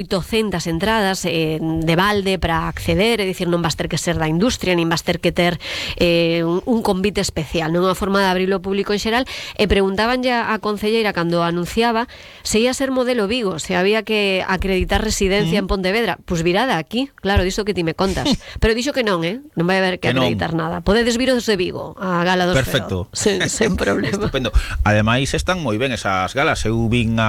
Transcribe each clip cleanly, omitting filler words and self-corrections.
800 entradas de balde para acceder, é dicir, non vas ter que ser da industria, nin vas ter que ter un convite especial, non é unha forma de abrirlo ao público en xeral. E preguntaban ya a concelleira cando anunciaba se ia ser modelo Vigo, se había que acreditar residencia en Pontevedra. Pois virada aquí, claro, diso que ti me contas. Pero dixo que non, non vai haber que acreditar nada. Podedes viros de Vigo a gala dos Perfecto. Feroz, sen problema. Estupendo. Ademais están moi ben esas galas. Eu vin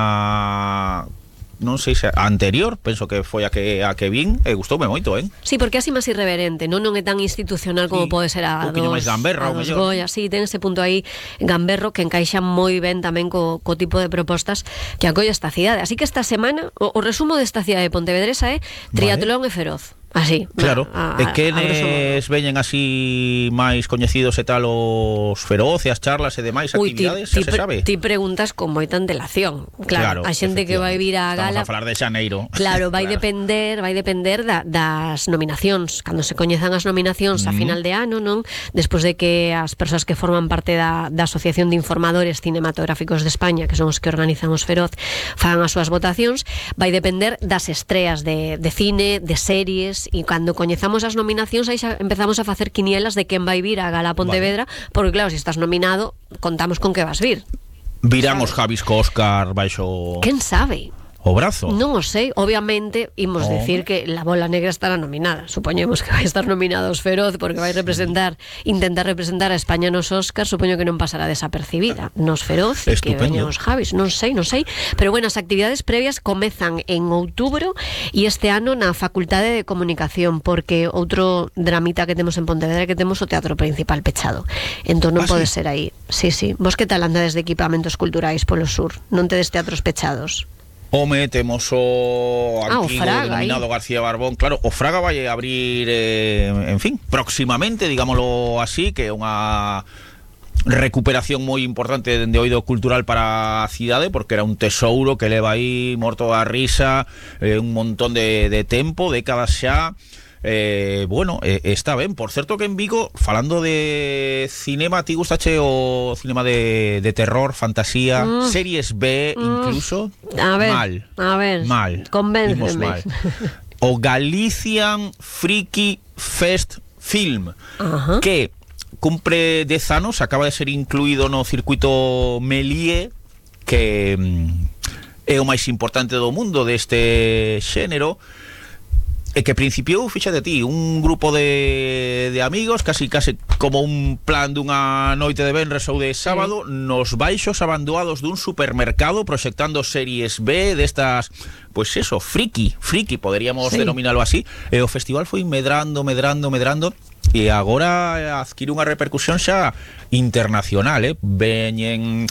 non sei se a anterior, penso que foi a que vin, e gustoume moito, Sí, porque así máis irreverente, non é tan institucional como pode ser a dos gamberra, a dos Goya, sí, ten ese punto aí gamberro que encaixa moi ben tamén co tipo de propostas que acolle esta cidade. Así que esta semana, o resumo desta cidade de Pontevedresa é triatlón e feroz. Así, claro, e quenes veñen así máis coñecidos e tal os feroz e as charlas e demais actividades, xa se sabe. Ti preguntas con moita antelación. Claro, a xente que vai vir á gala. Estamos a falar de xaneiro. Claro, vai depender das nominacións. Cando se coñezan as nominacións a final de ano, non? Despois de que as persoas que forman parte da Asociación de Informadores Cinematográficos de España, que son os que organizan os feroz, fagan as súas votacións, vai depender das estreas de cine, de series. E cando coñezamos as nominacións aí xa empezamos a facer quinielas de quen vai vir a gala Pontevedra, porque claro, se estás nominado contamos con que vas vir. Virán os Javis co Óscar baixo... Quen sabe? O brazo. Non o sei, obviamente imos decir que La Bola Negra estará nominada. Supoñemos que vai estar nominados Feroz porque vai intentar representar a España nos Óscar. Supoño que non pasará desapercibida nos Feroz e que veñan os Javis, non sei. Pero bueno, as actividades previas comezan en outubro e este ano na Facultade de Comunicación, porque outro dramita que temos en Pontevedra é que temos o Teatro Principal pechado. Entón non pode ser aí. Sí. Vos que tal andades de equipamentos culturais polo sur? Non tedes teatros pechados? Home, temos o antigo denominado García Barbón. Claro, o Fraga vai abrir, en fin, próximamente, digámoslo así, que é unha recuperación moi importante de oído cultural para a cidade, porque era un tesouro que leva aí morto a risa un montón de tempo, décadas xa. Está ben. Por certo que en Vigo, falando de cinema, ti gustache o cinema de terror, fantasía, series B incluso? A ver, mal. Convénceme. O Galician Freaky Fest Film, que cumpre 10 anos, acaba de ser incluído no circuito Méliès, que é o máis importante do mundo deste xénero. E que principiou, fíxate ti, un grupo de amigos, casi como un plan dunha noite de venres ou de sábado, nos baixos abandoados dun supermercado, proxectando series B destas, pois eso, friki, poderíamos denominalo así. E o festival foi medrando, e agora adquire unha repercusión xa internacional, veñen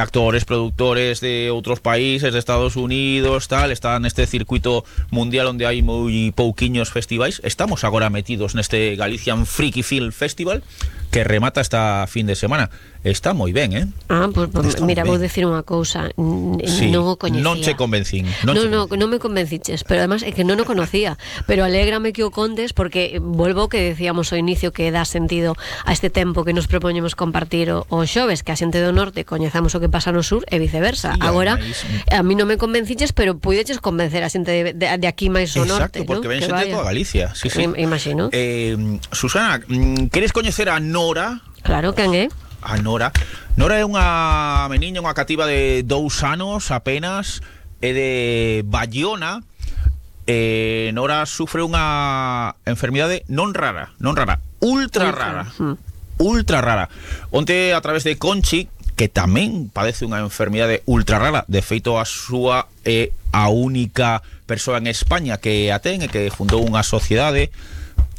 actores, productores de outros países, de Estados Unidos, tal, está neste circuito mundial onde hai moi pouquiños festivais. Estamos agora metidos neste Galician Freaky Film Festival que remata esta fin de semana. Está moi ben, pues mira, vou decir unha cousa, non o coñecía. Non che convencín. Non me convenciches, pero además é que non o conocía, pero alégrame que o contes, porque volvo que decíamos ao inicio que dá sentido a este tempo que nos propoñemos compartir o xoves, que a xente do norte coñezamos o que pasa no sur e viceversa. Agora, a mí non me convenciches, pero puideches convencer a xente de aquí máis ao norte. Exacto, porque ven xente de toda Galicia. Sí. Imagino. Susana, queres coñecer a Nora? Claro, quen é? A Nora é unha meniña, unha cativa de 2 anos apenas, é de Bayona. Nora sufre unha enfermidade non rara, ultra rara. Onte, a través de Conchi, que tamén padece unha enfermidade ultra rara, de feito a súa é a única persoa en España que a ten e que fundou unha sociedade,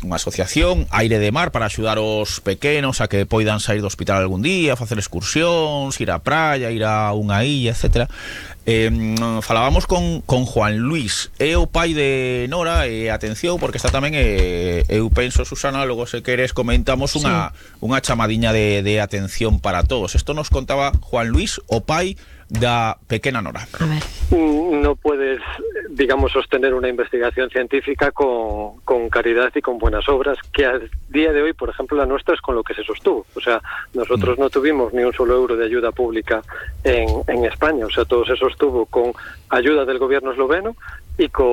unha asociación, Aire de Mar, para axudar os pequenos a que poidan sair do hospital algún día, facer excursións, ir á praia, ir a unha illa, etc. Falábamos con Juan Luis, é o pai de Nora, e atención, porque está tamén, eu penso, Susana, logo se queres comentamos unha chamadiña de atención para todos. Isto nos contaba Juan Luis, o pai da pequena Nora. A ver. No puedes, digamos, sostener una investigación científica con caridad y con buenas obras, que a día de hoy, por ejemplo, la nuestra es con lo que se sostuvo. O sea, nosotros no tuvimos ni un solo euro de ayuda pública en España. O sea, todo se sostuvo con ayuda del gobierno esloveno y con